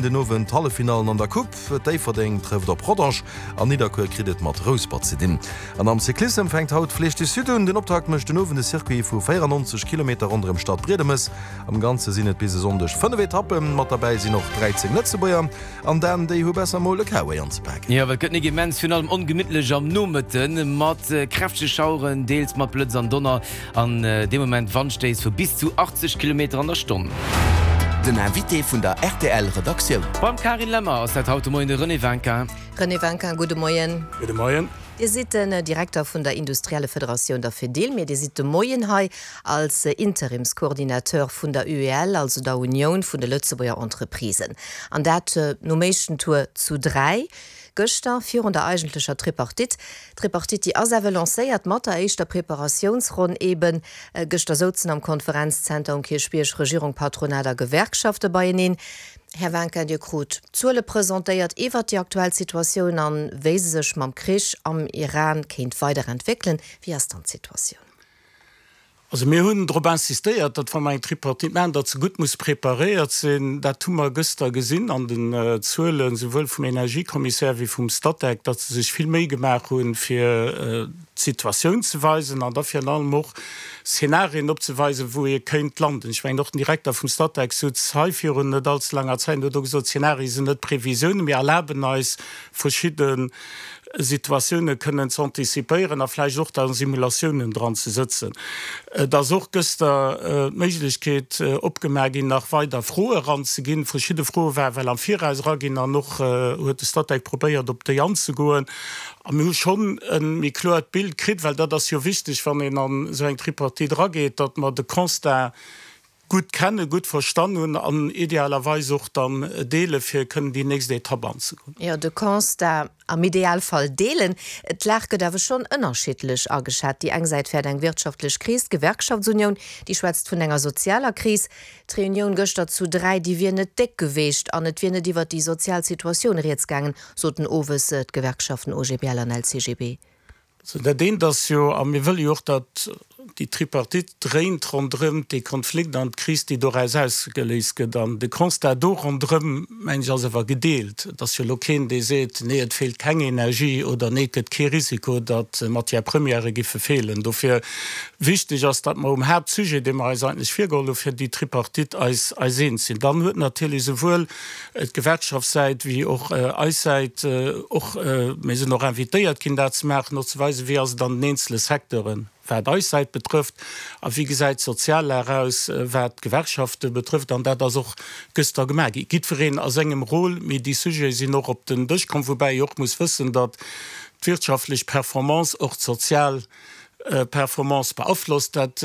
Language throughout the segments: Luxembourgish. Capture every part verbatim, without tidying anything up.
sinn den Owend d'Halleffinallen an der Coupe. Déifferdeng trëfft op Rodange an Nidderkuer kritt et mat Rouspert ze dinn. An am Cyclissem fänkt haut d'Flèche du Sud un. Den Optakt mécht den Owend e Circuit vu véierannonzeg Kilometer ronderëm Stadbriedemes. Am Ganze sinn et bis e Sonndeg fënnef Etappen. Mat derbäi sinn och dräizéng Lëtzebuerger. An Dan, déi hu besser mol e K-Way anzepaken. Jo, well et gëtt nik immens, virun allem ongemittlech am Nomëtten, mat kräftege Schaueren, deels mat Blëtz an Donner an dee Moment Wandstéiss vu bis zu achtzeg Kilometer an der Stonn. Den Invité vun der R T L Redaktioun. Beim Carine Lemmer ass dat haut de Moien de René Winkin. René Winkin, gudde Moien. Gudde Moien. Dir sidd den Direkter vun der Industriellefederatioun, der Fedil, mee Dir sidd de Moien hei als Interimscoordinateur vun der U E L, also der Unioun vun de Lëtzebuerger Entreprisen. An dat nom éischten Tour zu dräi gëschter virun der eigentlecher Tripartite. D'Tripartite, déi ass awer lancéiert mat der éischter Preparatiounsronn eben. Gëschter souzen am Konferenzzenter um Kierchbierg Regierung, Patronat a Gewerkschafte beieneen. Här Winkin, Dir krut Zuele presentéiert iwwert déi aktuell Situatioun an wéi se sech mam Krich am Iran kéint weiderentwéckelen. Wéi ass dann d'Situatioun? Also mir hunn drop insistéiert, datt wa mer eng Tripartite maachen, datt se gutt muss preparéiert sinn. Dat hu mer gëschter gesinn an den Zuelen, souwuel vum Energiekommissär wéi vum Statec, datt se sech vill Méi gemaach hunn, fir d'Situatioun ze weisen an da virun allem och Szenarien opzeweisen, wou ee kéint landen. Ech mengen, och den Direkter vum Statec sutz hei virun net allze laanger Zäit an huet och gesot, Szenarie sinn net Previsiounen, mir erlaben eis verschidde Situatioune kënnen ze antizipéieren a vläicht och da Simulatiounen dran ze sëtzen. Et ass och gëster d'Méiglechkeet opgemaach ginn, nach weider Froe eranzeginn. Verschidde Froe ware well am Viraus eraginn an och huet de Statec probéiert, op déi anzegoen. A mir hu schonn e méi kloert Bild kritt, well dat ass jo wichteg, wann een an esou eng Tripartite erageet, datt mer de Constat gutt kennen, gutt verstan hunn an idealerweis och dann deele fir kënnen déi nächst Etapp anzegoen. Jo, de Constat am Idealfall deelen. D'Lag gëtt awer schonn ënnerschiddlech ageschat. Déi eng Säit fäert eng wirtschaftlech Kris, d'Gewerkschaftsunioun, déi schwätzt vun enger sozialer Kris. D'Reunioun gëschter zu dräi, déi wier net déck geweecht an et wier net iwwert déi sozial Situatioun rieds gaangen, soten owes d'Gewerkschaften O G B L an L C G B. Also dat eent ass jo, a mir wëlle jo och, datt déi Tripartite dréint ronderëm dee Konflikt an d'Kris, déi doraus ausgeléist gëtt. An de Constat do ronderëm, mengen ech, ass awer gedeelt. Et ass jo elo keen, dee seet, nee, et feelt keng Energie oder nee, et gëtt kee Risiko, datt Matière-premièrë giffe feelen. Dofir wichteg ass, datt mer um Haaptsujet, dee mer eis eigentlech virgeholl hu fir déi Tripartite, eis eis eens sinn. Dann huet natierlech esouwuel d'Gewerkschaftssäit wéi och eis Säit och, mir sinn och invitéiert ginn, dat ze maachen, och ze weisen, wéi ass et an den eenzele Secteuren, wat eis Säit betrëfft, a wéi gesäit d'Soziallag aus, wat d'Gewerkschafte betrëfft. An dat ass och gëschter gemaach gi, jiddwereen a sengem Rôle, mee déi Sujete sinn och op den Dësch komm, woubäi ee och muss wëssen, datt d'wirtschaftlech Performance och d'sozial Performance beaflosst. Dat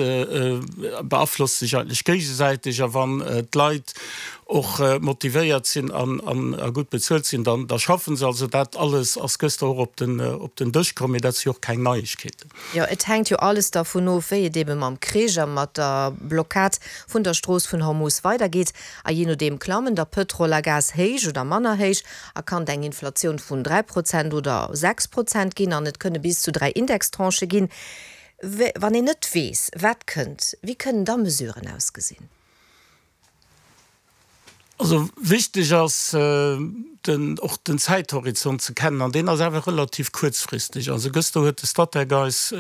beaflosst sech eigentlech géigesäiteg, a wann d'Leit och motivéiert sinn a gutt bezuelt sinn, da schaffen se. Also dat alles ass gëschter och op den op den Dësch komm, mee dat si jo och keng Neiegkeeten. Jo, et hänkt jo alles dervun of, wéi et ebe mam Krich a mat der Blockad vun der Strooss vun Hormus weidergeet. A jee nodeem klammen da Pëtrol a Gas héich oder manner héich a kann et eng Inflatioun vun dräi Prozent oder sechs Prozent ginn an et kënne bis zu dräi Indextranchë ginn. Wann een net weess, wat kënnt, wéi kënnen da Mesuren ausgesinn? Also wichteg ass den och den Zäithorizont ze kennen an deen ass awer relativ kuerzfristeg. Also gëschter huet de Statec eis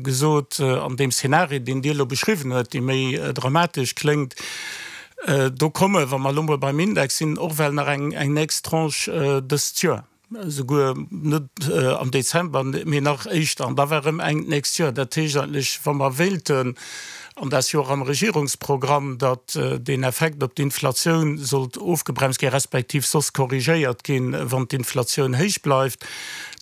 gesot, an deem Szenario, deen Dir elo beschriwwen huet, dee méi dramatesch kléngt, do komme, wa mer elo mol beim Index sinn, och well nach eng eng nächst Tranche dëst Joer, esouguer net am Dezember, mee nach éischter, an da war erëm eng d'nächst Joer. Dat heescht eigentlech, wa mer wéilten, an dat ass jo och am Regierungsprogramm, datt deen Effekt op d'Inflatioun sollt ofgebremst ginn, respektiv soss korrigéiert ginn, wann d'Inflatioun héich bleift,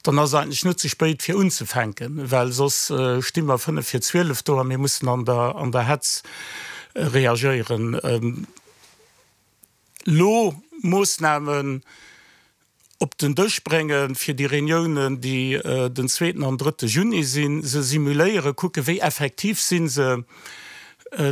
dann ass et eigentlech net ze spéit fir unzefänken, well soss sti mer fënnef vir zwielef do a mir mussen an der an der Hetz reagéieren. Elo Moossnamen op den Dësch bréngen, fir déi Reuniounen, déi den zweeten an drëtte Juni sinn, se simuléieren, kucken, wéi effektiv si se,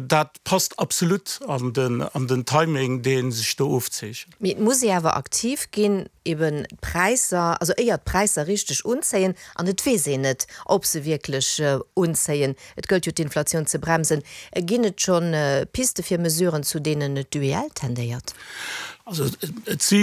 dat passt absolut an den an den Timing, dee sech do ofzeechent. Mee et muss ee awer aktiv ginn, eben d'Präisser, also éier d'Präisser richteg unzéien, an et weess een net, ob se wierklech unzéien, et gëllt jo d'Inflatioun ze bremsen, ginn et schonn Piste fir Mesuren, zu deenen d'U E L tendéiert? Also et si